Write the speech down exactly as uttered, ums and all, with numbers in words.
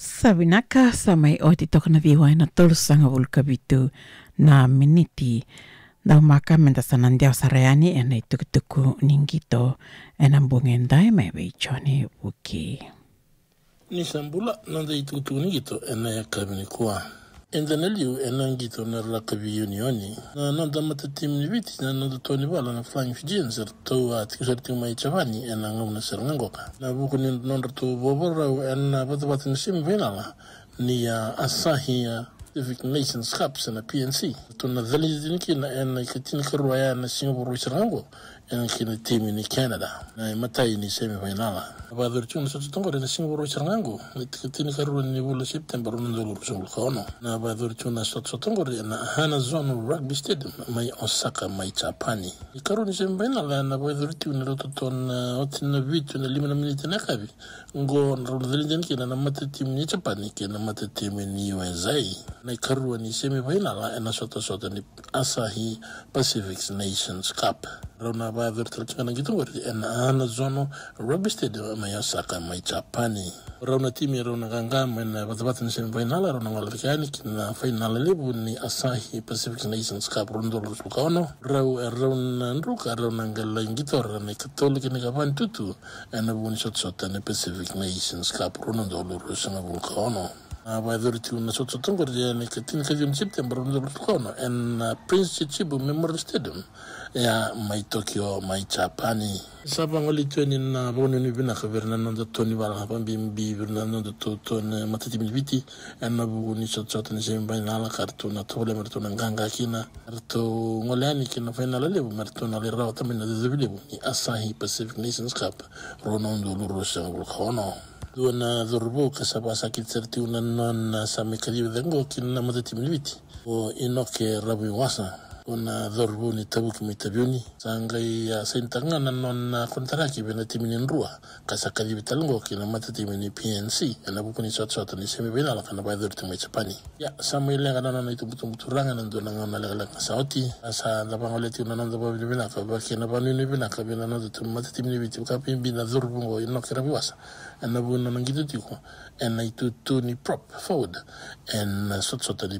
Sa vinaka, sa mai oti toka na ciwa ena tolusagavulu ka vitu na miniti. Daumaka meda sa na dewa sara yani ena itukutuku ni qito ena bogi edai mai vei Joni Vuki. Ni sa bula, noda itukutuku ni qito ena yakavi nikua. Eda na liu ena qito na rakavi unioni. Na noda matatimi ni Viti, na noda tau ni vala na Flying Fijians, eratou a tiko sara tiko mai Japani ena gauna sara ga qoka. Na vuku ni nodratou vakavakarau ena vatavata ni semifinal ni, a, Asahi, a, Pacific Nations Cup se na P N C. Eratou na cali tiko kina ena ikatinikarua ya na siga Vakarauwai sara ga qo, ena kena timi ni Canada. Na imatai ni semifinal. Na vakayacori tiko na sotasota qori ena siga Vakarauwai sara ga qo, na ikatinikarua ni vula o September, rua na udolu ruasagavulu ka ono. Na vakayacori tiko na sotasota qori ena Hanazono Rugby Stadium mai Osaka mai Japani. Na ikarua ni semifinal ena vakayacori tiko ni rauta tu na oti na vitu na lima na miniti ena yakavi. Qo rau na cali tiko kina na matatimi ni Japani kei na matatimi ni U S A. Na ikarua ni semifinal ena sotasota ni Asahi Pacific Nations Cup. Rau na vakayacori tale tiko ga na qito qori ena Hanazono Rugby Stadium mai Osaka mai Japani. Rau na timi rau na qaqa mai na vatavata ni semifinal, rau na gole cake yani ki na final levu ni Asahi Pacific Nations Cup rua na udolu ruasagavulu ka ono. Rau, e rau na druka, rau na qai lai qitora na ikatolu kei na ikava ni tutu ena vuku ni sotasota ni Pacific Nations Cup rua na udolu ruasagavulu ka ono. Na vakayacori tiko na sotasota qori ena ikatini ka ciwa ni September rua na udolu ruasagavulu ka ono ena Prince Chichibu Memorial Stadium, ya mai Tokyo mai Japani. Sa vagolei tu yani na vakanuinui vinaka vei ira na noda tau ni vala, vakabibi vei ira na noda tau, tau ni matatimi ni Viti ena vuku ni sotasota ni semifinal ka ratou na tovolea me ratou na qaqa kina. Ratou gole yani ki na final levu me ratou na lai rawata mai na icocovi levu ni Asahi Pacific Nations Cup rua na udolu ruasagavulu ka ono. Dua na cauravou ka sa vakasakiti sara tiko na nona sa mai kacivi cake qo ki na matatimi ni Viti, o Inoke Ravuiwasa. Dua na cauravou ni Tavuki mai Taveuni. Sa qai, a, sainitaka ga na nona konitaraki vei na timi ni Drua, ka sa kacivi tale qo ki na matatimi ni P N C ena vuku ni sotasota ni semifinal ka na vakayacori tiko mai Japani. Ia, sa mai leqa na nona itubutubu turaga ena dua na gauna lekaleka sa oti. A, sa da vagolea tiko na noda vakavinavinaka, vaka kei na vakanuinui vinaka vei na noda tu matatimi ni Viti, vakabibi na cauravou qo Inoke Ravuiwasa, ena vuku ni nona qito tiko ena itutu ni prop forward ena sotasota ni